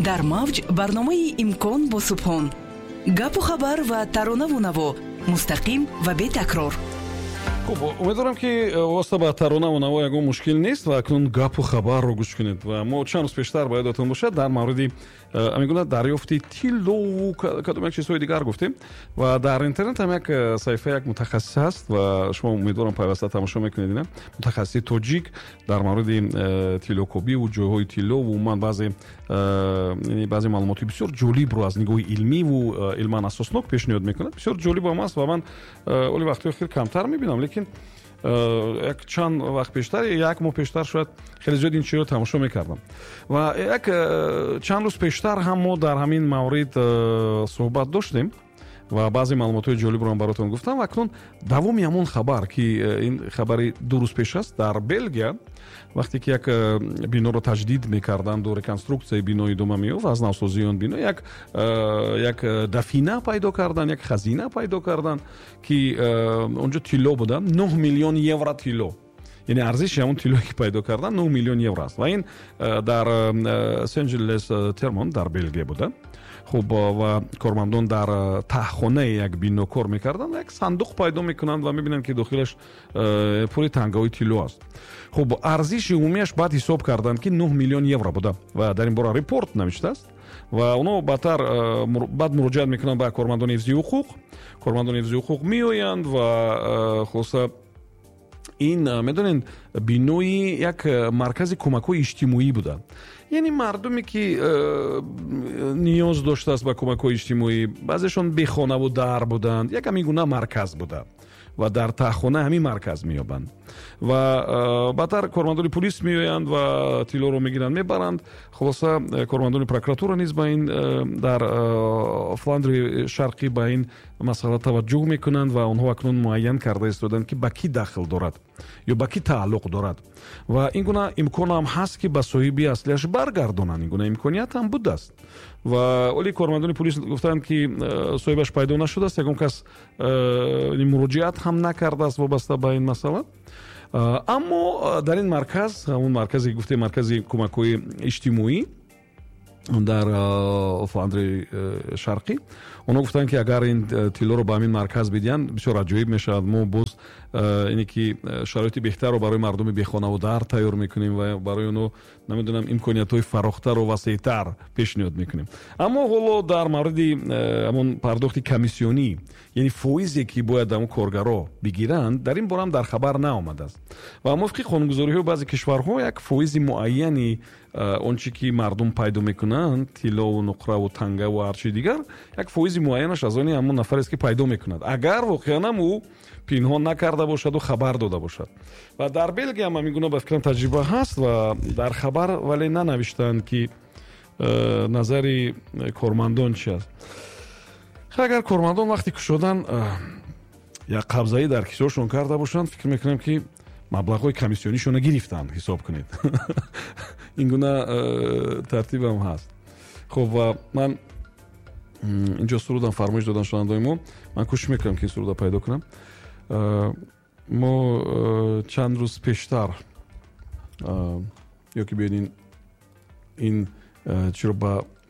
Дар мавҷ барномаи «Имкон» бо Субҳон. Гапу хабар ва таронаву наво, мустақим ва бетакрор. Хуб, умедворам, ки вобаста ба таронаву наво ягон мушкил нест ва акнун гапу хабарро гӯш кунед. Ва мо чанд рӯз пештар, ба ёдатон бошад, дар мавриди ҳамин гуна дарёфти тиллову кадом як чизҳои дигар гуфтем. Ва дар интернет ҳам як саҳифаи як мутахассис ҳаст ва шумо, умедворам, пайваста тамошо мекунед. Ина мутахассиси тоҷик дар мавриди тиллокобиву ҷойҳои тиллову умуман баъзе маълумоти бисёр ҷолибро аз нигоҳи илмиву илман асоснок пешниҳод мекунад. Бисёр ҷолибам аст ва ман оли вақтҳои охир камтар мебинам, лекин як чанд вақт пештар, як моҳ пештар шояд, хеле зиёд ин чизро тамошо мекардам. Ва як чанд рӯз пештар ҳам мо дар ҳамин маврид суҳбат доштем ва баъзе маълумотҳои ҷолибро ҳам баротон гуфтам. Ва акнун давоми ҳамон хабар, ки ин хабари 2 рӯз пеш аст. Дар Белгия вақте ки як биноро таҷдид мекарданду реконструксияи бино идома меёфт, аз навсозии он бино, як дафина пайдо кардан, як хазина пайдо кардан, ки онҷо тилло буда, 9 миллион евро тилло. Яъне арзиши ҳамон тиллое, ки пайдо кардан, 9 миллион евро аст. Ва ин дар Сен-Жилл Термон дар Белгия буда. Хуб, ва кормандон дар таҳхонаи як бино кор мекарданд, як сандуқ пайдо мекунанд ва мебинанд, ки дохилаш пури тангаҳои тилло аст. Хуб, арзиши умумиаш баъд ҳисоб карданд, ки 9 миллион евро буда ва дар ин бора репорт навиштааст. Ва оно баъдтар баъд муроҷиат мекунанд ба кормандони ҳифзи ҳуқуқ. Кормандони ҳифзи ҳуқуқ меоянд ва хулоса, ин, медонед, бинои як маркази кӯмакҳои иҷтимоӣ буда. Яъне мардуме, ки ниёз доштааст ба кӯмакҳои иҷтимоӣ, баъзешон бехонаву дар буданд, як ҳамин гуна марказ буда ва дар таҳхона ҳамин марказ меёбанд. Ва баъдтар кормандони пулис меоянд ва тиллоро мегиранд, мебаранд. Хулоса, кормандони прокуратура низ ба ин дар Фландри Шарқӣ ба ин масъала таваҷҷӯҳ мекунанд ва онҳо акнун муайян карда истоданд, ки ба кӣ дахл дорад ё ба кӣ тааллуқ дорад. Ва ин гуна имкон ҳам ҳаст, ки ба соҳиби аслиаш баргардонанд. Ин гуна имконият ҳам будааст. Ва оли кормандони пулис гуфтанд, ки соҳибаш пайдо нашудааст, ягон кас муроҷиат ҳам накардааст вобаста ба ин масъала. Аммо дар ин марказ, ҳамон марказе гуфтем, маркази кӯмакҳои иҷтимоӣ дар Фландри Шарқӣ, онҳо гуфтанд, ки агар ин тиллоро ба ҳамин марказ бидиҳанд, бисёр аҷоиб мешавад. Мо боз ине ки шароити беҳтарро барои мардуми бехонаву дар тайёр мекунем ва барои онҳо, намедонам, имкониятҳои фарохтару васеътар пешниҳод мекунем. Аммо ҳоло дар мавриди ҳамон пардохти комиссионӣ, яъне фоизе, ки бояд ҳамон коргаро бигиранд, дар ин бора ҳам дар хабар наомадааст. Ва мувофиқи қонунгузориҳои баъзе кишварҳо, як фоизи муайяни он чи ки мардум пайдо мекунанд, тиллову нуқраву тангаву ҳарчи дигар, як фоизи муайянаш аз они ҳамон нафарест, ки пайдо мекунад, агар воқеан ҳам ӯ пинҳон накарда бошаду хабар дода бошад. Ва дар Белгия ҳам ҳамин гуна, ба фикрам, таҷриба ҳаст ва дар хабар вале нанавиштаанд, ки назари кормандон чи аст. Агар кормандон вақти кушодан як қабзаӣ дар кисоашон карда бошанд, фикр мекунам, ки маблағҳои комиссионишонро гирифтанд, ҳисоб кунед. Ин гуна тартибам ҳаст. Хуб, ва ман инҷо сурудам фармоиш додам шунавандаои мо. Ман кӯшиш мекунам, ки ин суруда пайдо кунам. Мо чанд рӯз пештар ё ки биёед, ин чиро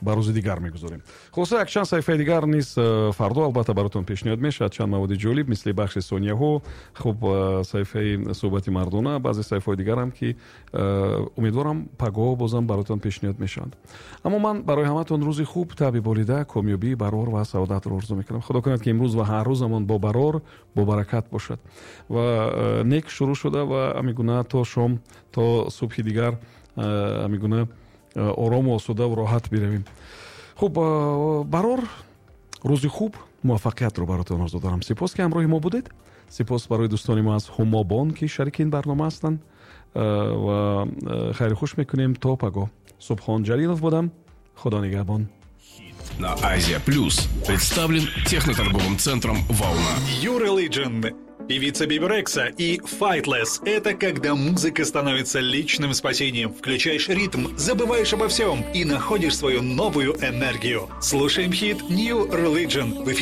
ба рӯзи дигар мегузорем. Хулоса, якчанд саҳифаи дигар низ фардо албатта баротон пешниҳод мешавад, чанд маводи ҷолиб, мисли бахши сонияҳо, хуб, саҳифаи суҳбати мардона, баъзе саҳифаҳои дигарам, ки умедворам, пагоҳ бозам баротон пешниҳод мешаванд. Аммо ман барои ҳаматон рӯзи хуб, табъи болида, комёбӣ, барор ва саодатро орзу мекунам. Худо кунад, ки имрӯз ва ҳар рӯзамон бо барор, бо баракат бошад ва нек шурӯъ шуда ва ҳамин гуна то шом, то субҳи дигар ҳамин гуна орому осудаву роҳат биравем. Хуб, барор, рӯзи хуб, муваффақиятро баротон орзу дорам. Сипос, ки ҳамроҳи мо будед. Сипос барои дӯстони мо аз Ҳумобон, ки шарики ин барнома ҳастанд. Ва хайру хуш мекунем то пагоҳ. Субҳон Ҷалилов будам. Худо нигаҳбон. На Азия Плюс представлен техноторговым центром «Волна». New Religion, певица Биби Рекса и Faithless — это когда музыка становится личным спасением. Включаешь ритм, забываешь обо всем и находишь свою новую энергию. Слушаем хит New Religion в эфире.